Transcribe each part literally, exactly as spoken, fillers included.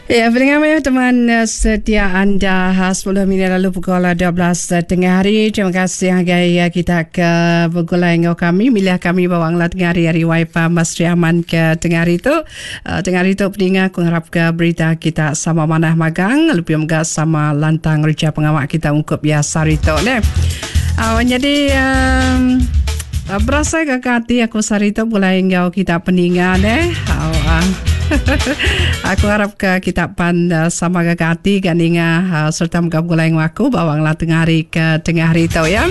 Ya, pendengar ya, teman setia anda sepuluh minit lalu pukul dua belas tengah hari. Terima kasih ngagai kita ke begulai enggau kami. Milih kami bawang lah tengah hari hari Wi-Fi Mas Riaman ke tengah hari tu. Uh, tengah hari tu pendengar aku ngarap ke berita kita sama manah magang. Lebih megah sama lantang reja pengawak kita ungkup biasa hari tu. Ne? Uh, jadi... Um, berasa ke hati aku sehari tu mulai enggau kita pendengar deh. Oh, uh. Aku harap ke kita pan uh, sama ke hati kan ninga uh, serta megah mulai enggau aku bawang lah tengah hari ke tengah hari tu ya.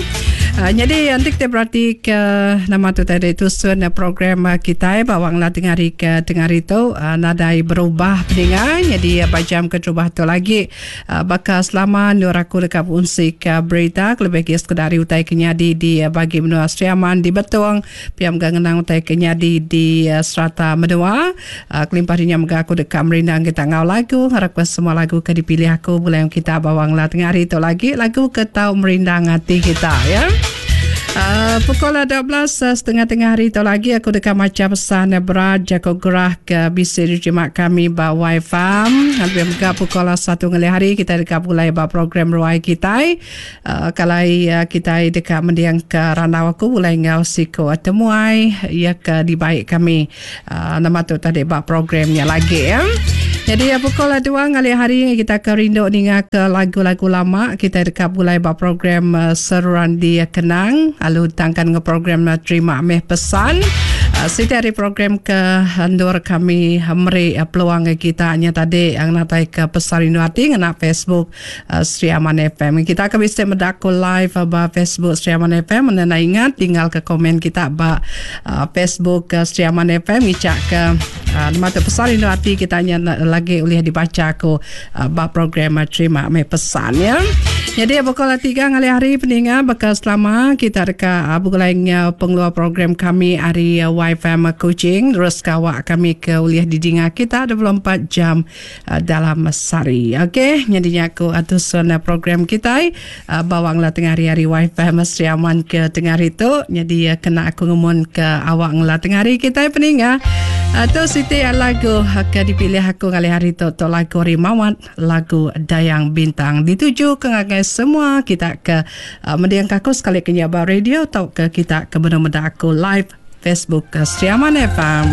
Uh, jadi nanti kita berarti ke nama tu tadi tusun program kita bawang lah tengah hari ke tengah hari tu uh, nadai berubah pendengar. Jadi uh, jam keterubah tu lagi uh, bakal selama nur aku dekat fungsi ke berita lebih ke sekedar utai kenyadi di uh, bagi menua Sri Aman di Betong piam gangenang utai kenyadi di uh, serata menua uh, kelimpah dinya mega aku dekat merindang kita ngau lagu harap ke semua lagu ke dipilih aku boleh kita bawang lah tengah hari tu lagi lagu ke tau merindang hati kita ya. Uh, pukul dua belas setengah tengah hari tu lagi aku dekat macam pesan berat jago gerah ke bisi terima kami ba Wi-Fi. Hampir mega pukul satu ngelih hari kita dekat mulai ba program ruai kita. Uh, kalau uh, kita dekat mendiang ke randau aku mulai ngau siko temuai ya ke dibaik kami. Uh, nama tu tadi ba programnya lagi ya. Jadi pukul dua ngalih hari kita ke rindu ninga ke lagu-lagu lama kita dekat mulai ba program uh, seruan di kenang lalu tangkan ke program uh, terima meh pesan uh, siti hari program ke hendur kami meri uh, peluang kita nya tadi yang natai ke pesan rindu hati ngena Facebook uh, Sri Aman F M. Kita akan bisa mendaku live uh, ba Facebook Sri Aman F M mengenai ingat tinggal ke komen kita ba uh, Facebook uh, Sri Aman F M ngicak ke uh, nama tu pesan rindu hati kita nya lagi oleh dibaca aku uh, ba program uh, terima meh pesan ya. Jadi pukul tiga ngalih hari pendengar bakal selama kita dekat uh, begulai pengeluar program kami hari uh, Y F M Kuching terus kawak kami ke uliah didinga kita dua puluh empat jam uh, dalam sehari. Okey, jadinya aku atusan program kita uh, bawanglah tengah hari-hari Y F M Sri Aman ke tengah hari tu. Jadi uh, kena aku ngumun ke awak nglah tengah hari kita pendengar. Atau uh, siti lagu ke dipilih aku kali hari tu tu lagu Rimawat lagu Dayang Bintang dituju ke ngagai semua kita ke uh, mendiang aku sekali ke nyaba radio atau ke kita ke benar-benar aku live Facebook ke Sri Aman F M.